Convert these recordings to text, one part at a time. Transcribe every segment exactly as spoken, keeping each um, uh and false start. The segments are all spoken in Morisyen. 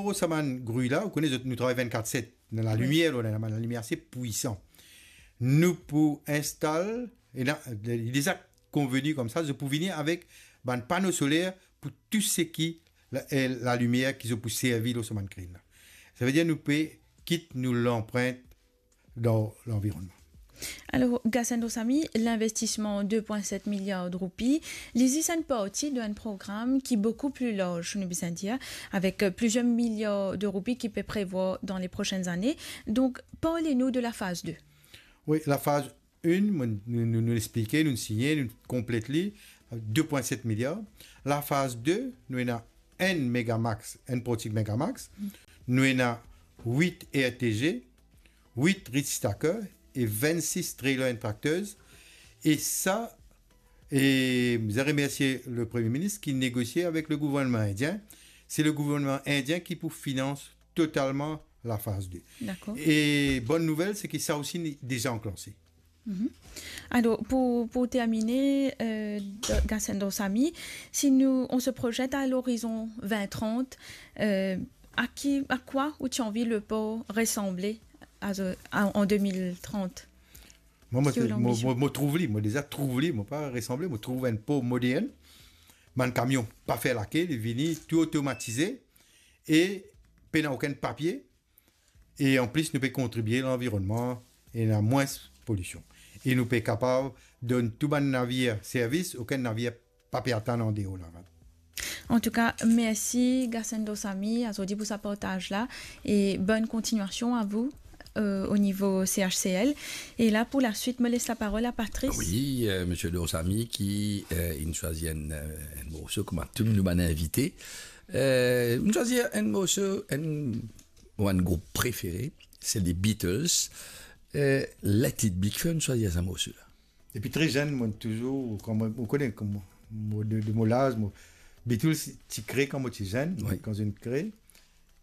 Pou sa bann gri la, ou kone zot, nou travay vennkat set, dan lalimier, la, la, lalimier ase pwisan. Nou pou instal, e la, li deza konveni koumsa, zot pou vini avek bann pano soler pou tou seki la, eh, lalimier ki zot pou servi lor so bann krin la. Savedir nou pe kit nou lanprint dan lanvironnman. Alor, Gasendra Samy, linvestisman de pwin set miliar de roupi, li zis enn parti dan enn program ki boukou pli larz, nou bizin dir, avek, euh, plizier miliar de roupi ki pe prevwar dan le prosenn zane. Donk, parle nou de la faz de. Wi, la faz enn, mo, nou, nou, nou explike, nou signe, nou konplet li, de pwin set miliar. La faz de, nou ena enn Megamax, enn portik Megamax. Nou ena wit R T G, wit reach stacker e vennsis trailer and tractors. E sa, e mo remersie le Premie Minis ki negosie avek le gouvernman indien. Se le gouvernman indien ki pou finans totalman la faz de. Dakor. E bonn nouvel, se ki sa osi li deza anklanse. Mhm. Alor, pou, pou termine, euh, Gasendra Samy, si nou, on se projette à l'horizon vingt trente, euh, à qui, à quoi ou ti anvi le port ressembler à, à, en deux mille trente? Mwa, mo, Ki ou mo, lanbision? Mo, mo trouv li, mo deza trouv li, mo pa resanble, mo trouv enn por modern. Bann kamion pa fer lake, li vini tou otomatize e pena okenn papie. E anplis, nou pe kontribie lanvironnman e ena mwins polision. E nou pe kapav donn tou bann navir servis, okenn navir pa pe atann andeor lavan. Antouka, mersi Gasendra Samy azordi pou sa partaz la e bonn kontinuasion a vou, euh, o nivo C H C L. E la, pou la swit, mo les la parol a Patrice. Wi, euh, Misier Dosamy ki, euh, inn swazir enn, euh, enn morso kouma tou nou bann invite. Euh, inn swazir enn morso, enn mo bann group prefere, se les Beatles. Euh, Let It Be, kifer inn swazir sa morso la? Depi tre zenn, mo touzour, kan mo, ou kone, kan mo, mo de, de mo laz, mo, Beatles ti kre kan mo ti zenn, wi, kan zot inn kre,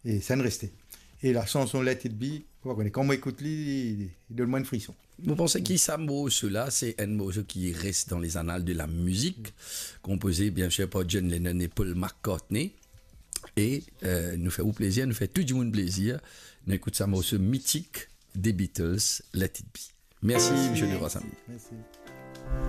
e sa inn reste. E la sanson Let It Be, ou pa kone, kan mo ekout li, li, li donn mwa enn frison. Mo panse ki sa morso la, se enn morso ki res dan les annales de la musique, konpoze, bien sir, par John Lennon e Paul McCartney. E, euh, nou fer ou plezir, nou fer tou dimoun plezir. Nou ekout sa morso mitik de Beatles, Let It Be. Mersi, Misier Dosamy. Mersi.